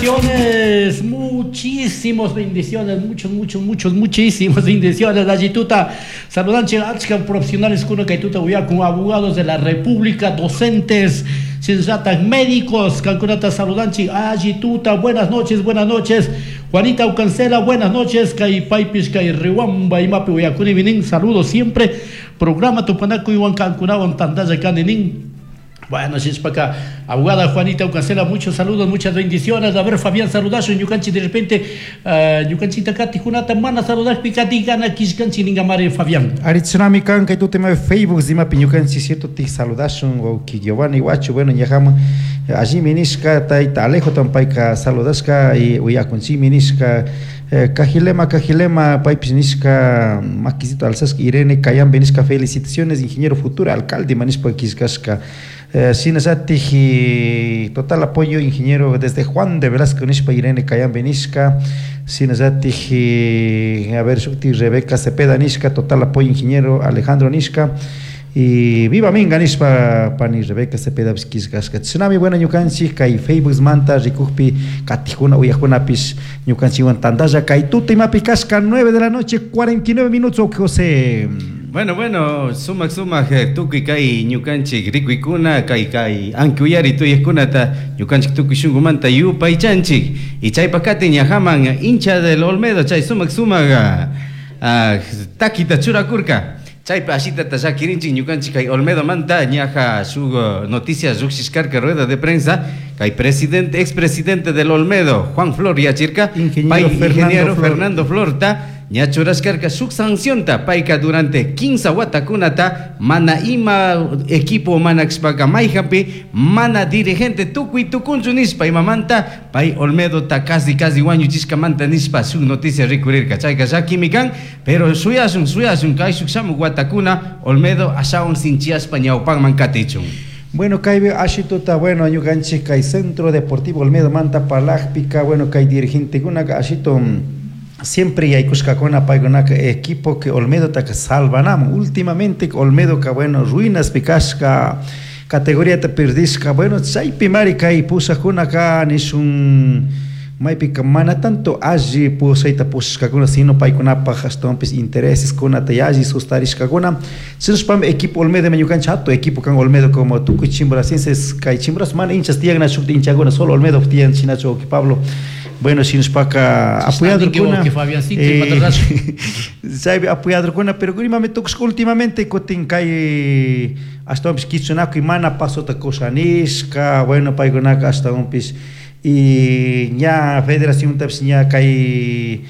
Bendiciones, muchísimos bendiciones, muchos, muchos, muchos, muchísimas bendiciones. Allituta, saludanche achka profesionales kuna kaytuta con abogados de la República, docentes, shinallatak médicos, kankunata saludanchik, allituta, buenas noches, buenas noches. Juanita Ucancela, buenas noches, kay paypish, kay Riwamba, imapi uyakuni vinin, saludos siempre. Programa Tupanakuy kankunawan tantalla kani. Bueno, para abogada Juanita Ucancela, muchos saludos, muchas bendiciones. A ver, Fabián, saludazo, ñukanchik de repente, ñukanchita katijkunata mana saludajpi katigana kishkanchik ningamari, Fabián. Ari tsunami kan kay tema Facebook zimapi ñukanchik cierto ti saludashun wawki Giovanni Huacho, bueno, ñajama allimi nishka, tayta Alejo tampayka saludashka y uyakunchimi nishka, Cajilema, Cajilema, paypish nishka, makisito alzashka. Irene Cayambe nishka: "Felicitaciones, ingeniero, futuro alcalde", manishpa kishkashka. Shinallatik "Total apoyo, ingeniero, desde Juan de Velasco" nishpa Irene Cayambe nishka. Shinallatik, a ver, shukti Rebeca Cepeda nishka: "Total apoyo, ingeniero Alejandro" nishka. Y "Viva Minga" nishpa pani Rebeca Cepeda kishkashka. Chashnami, bueno, ñukanchik kay Facebook manta rikukpi katijkuna uyajkunapish ñukanchikwan tantalla kay tuta imapi kashka. 9 de la noche 49 minutos, José. Bueno, sumak sumak tukuy kay ñukanchik rikuykuna kay ankuyari tuyajkunata ñukanchik tukuy shunkumanta yupaychanchik y chaypa katin ñajaman hincha del Olmedo chay sumak sumak takita churakurka. Chaypa ashitata llakirinchik ñukanchik kay Olmedo manta ñaja shuk noticias llukshishkarka rueda de prensa kay presidente, expresidente del Olmedo, Juan Flor yachirka. Ingeniero pay Fernando ingeniero Flor. Fernando Florta ña churashkarka shuk sancionta. Payka durante 15 watakunata mana ima equipo mana kashpaka mayjanpi mana dirigente tukuy tukunchu nishpa, imamanta pay Olmedota casi casi wañuchishkamanta nishpa shuk noticia rikurirka. Chayka llakimi kan, pero shuyashun, shuyashun kay shuk shamuk watakuna Olmedo ashawan sinchiyashpa ñawpakman katichun. Bueno, kay ashituta, bueno, ñukanchik kay Centro Deportivo Olmedo manta parlajpika, bueno, kay dirigentekunaka ashito siempre yaykushkakuna paykunaka equipo que Olmedotaka salvanamun. Últimamente Olmedo ka, bueno, ruinas kashka, categoría ta perdishka. Bueno, chaypi mari kay pushakkunaka nishun maypika mana tanto alli pushayta pushashkakuna, sino paykunapaj ashtawanpish intereses kunata yalli sustarishkakuna. Shinashpami equipo Olmedo ñukanchik hatun equipo kan Olmedo, como tukuy chimboracenses. Kay Chimborazo mana hinchas tiyan, shukta hinchakuna, solo Olmedo tiyan. Shinachu, Pablo? Bueno, shinashpaka apoyadorkuna Fabiancito, imata chaypi apoyadorkuna, pero imami tukushka últimamente kutin kay ashtawanpish kichunakuy mana pasota kushanishka. Bueno, paykunaka ashtawanpish y ña federación tapish ña kay